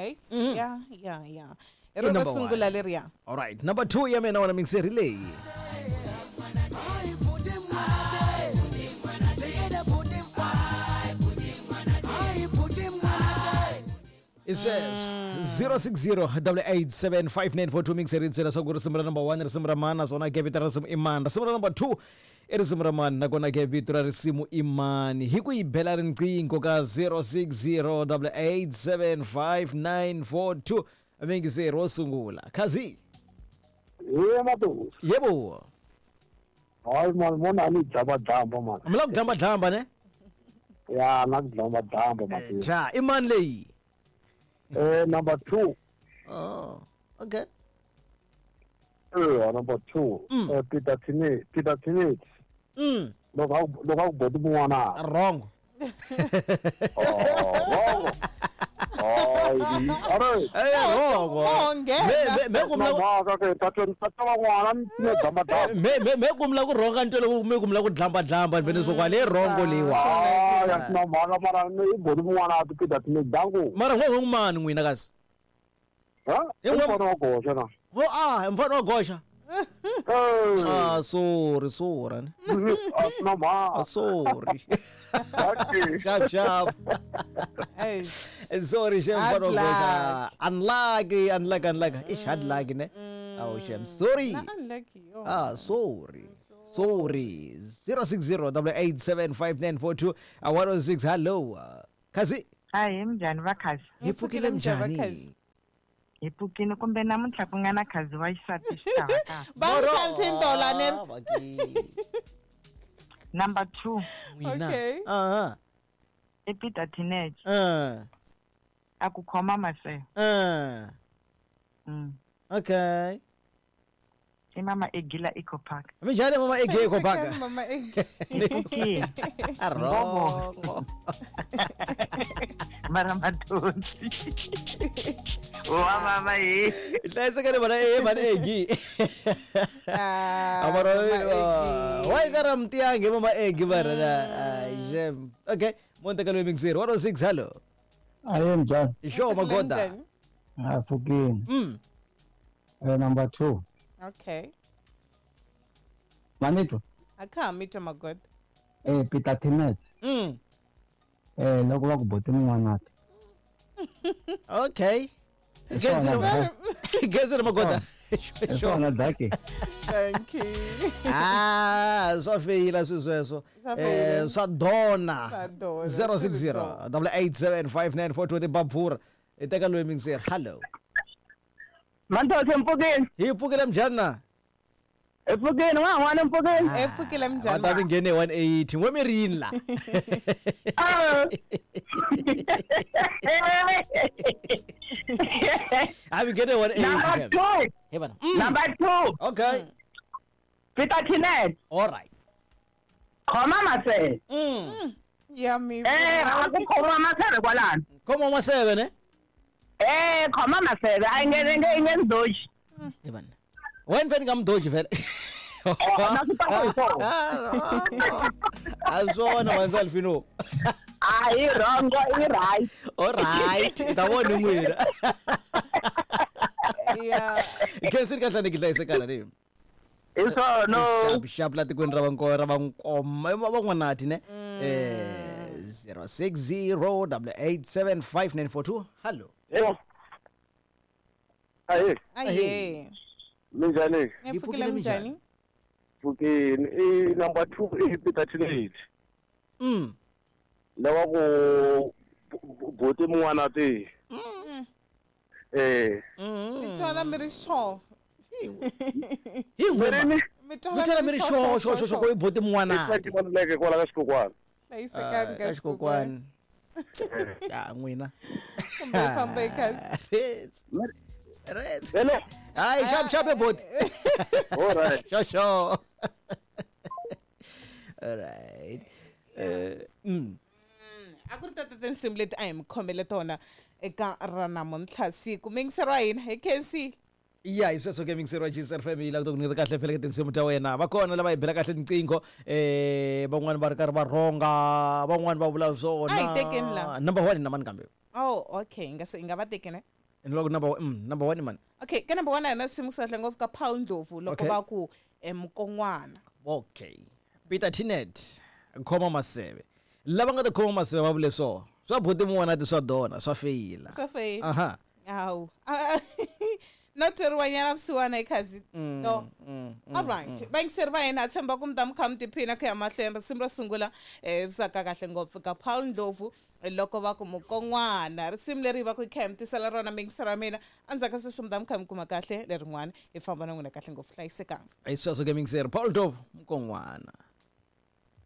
Okay. Ya, ya, ya. Hi I rona number sungula one. leriya. Alright, number 2 ya mina wona mixeri leyi. I sweswo 060-887-5942 mixeri yi byela swa ku risimu ra number 1 risimu ra mani naswona ke vito ra risimu i mani. Risimu ra number 2 i risimu ra mani nakona ke vito ra risimu i mani. Hi ku yi bela riqingho ka 060-887-5942 mixeri wo sungula. Khazi. Ye matu. Yebo. Hayi mani mona a ni dlamba-dlamba mani. Mi la ku dlamba-dlamba ne? Ya na ku dlamba-dlamba mati. Cha, i mani leyi? Number 2. Oh, okay. Number 2. Peter Tinet, Peter Tinet. Loko a ku boti mun'wana. Wrong. Oh, wrong. Hayi, are. Eh, wrong. Me me me ku mula mhaka ke tata van'wana ni tine dlamba-dlamba. Me ku mula ku rhonga ntwelo me ku mula ku dlamba-dlamba ni vene swo kwale wrong leyiwa. Hayi, a swi na mhaka mara ni i boti mun'wana ti Peter Tinet danku. Mara n'we mani n'wina kasi? Ha? Hi n'we- Mfana wa goxa na. Oh, ah, mfana wa goxa. Ah, sorry, sorry. A swi na mhaka. Ah, sorry. Okay. Sharp, sharp. Eish. Sorry, shem Hard mfana wa goxa. Unlucky, unlucky, unlucky. Ish, hard lucky ne. Oh, shem. Sorry. Na unlucky. Oh. Ah, sorry. Sorry. 060-887-5942. 106. Hello. Khazi. Hayi minjhani va khazi? Hi pfukile Njhani va njhani? Khazi? Hi pfukile kumbe namuntlha ku nga na khazi wa xisati xi ta va kahle. Va n'wi xanisini tola ne? Ah, vaki. Number 2 N'wina. Okay. Ah, i Peter Teenage ah. a ku khoma maseve. Ah. Okay. I mama Egila Eco Park. Minjhani mama Egi Eco Park? Mama Egi. Hi pfukile. Wrong. Mara mathonsi. Wa mama hi. Hlayisekani vana e mani Egi. Ah, Mara Mama Egi. wa yi ka ra mutiyangi mama Egi mara na. Ai, shem. Okay, monte ka loyi mixer 106 hello. Aye njani? Sure magoda. Njhani? Ah, pfukile. Number 2. Okay. Manito. A kha ha mi twa magoda. Peter Tinet. Loko va ku boti mun'wana. Okay. Gezi magoda. Hi swona daki. Thank you. Ah, swa feyila swi sweswo. Swa feyila. Swa dona. Swa dona, 060 8875942 tibabvura. Hi teka loyi mixer. Hello. Manthose mpfukile. Hi pfukile njhani na? Hi pfukile wa n'wana mpfukile. Hi pfukile Va njhani? ta vi nghene 180. N'we mi ri yini la? A vi nghene 180. Number 2. Hey vana. Number 2. Okay. Peter Tinet. All right. Khoma maseve. Ya mi. A ku khoma maseve kwalano. Khoma maseve ne? Khoma maseve a yi nge nge nge ndoji. Hey vana. Wena vele nga mdoji vele. Na swi ta ku hi swona. A swona wansalfino. A hi wrong, i right. All right. Ta vona n'wina. Yeah. Khensini kahle ni hlayisekana ni. Hi swona. Xap xap la tikweni ra vanko ra vankoma van'wanati ne. 060-887-5942. Hello. Yebo. Aye, Aye. minjhani? Hi pfukile njhani? Pfukile. I number 2 i Peter Tinet. Lava ku boti mun'wana ti. Mi twala mi ri sure. Hi n'we. Mi Mi twala mi ri sure sure sure ku i boti mun'wana. I tivoneleke kwala ka xikokwani. Hlayisekani Ka ka xikokwani. Ya n'wina. Kumbe hi famba hi khazi. Rets. Rets. Hello. Hayi xap xap boti. All right. Sure sure. All right. A ku ri tata tinsimu leti a hi mi khomele tona eka ra namuntlha siku mingisero wa hina hi khensile. Ya hi sweswo ke mixer wa GCR family la ku nyika kahle fele tinsimu ta wena. Va kona lava hi bela kahle tinqingho, van'wani va ri karhi va rhonga, van'wani va vula swona. A hi tekeni la. Number 1 na mani kambe. Oh, okay. Hi nga se hi nga va tekeni. And loko number number 1 man. Okay, ka number 1 a hi na risimu kahle ngopfu ka Paul Ndlovu loko Okay. va ku mukon'wana. Okay. Peter Tinet khoma maseve. Lava nga ta khoma maseve va vule swona. Swa buti mun'wana ti swa dona swa feyila. Swa feyila. Aha. Hawu. No tweriwanyana vusiwana ikhazi no. All right, vayingiseri va hina, tshemba ku mi ta mi kha mi tiphina ku ya mahlweni. Risimu ro sungula ri saka kahle ngopfu ka Paul Ndlovu loko va ku mukon'wana, risimu leri va ku hi kha hi mi tisela rona miyingiseri wa mina. Endzhaku ka sweswo mi ta mi kha mi kuma kahle lerin'wana, hi famba na n'wina kahle ngopfu. Hlayisekanga. Hi sweswo ke miyingiseri, Paul Ndlovu, mukon'wana.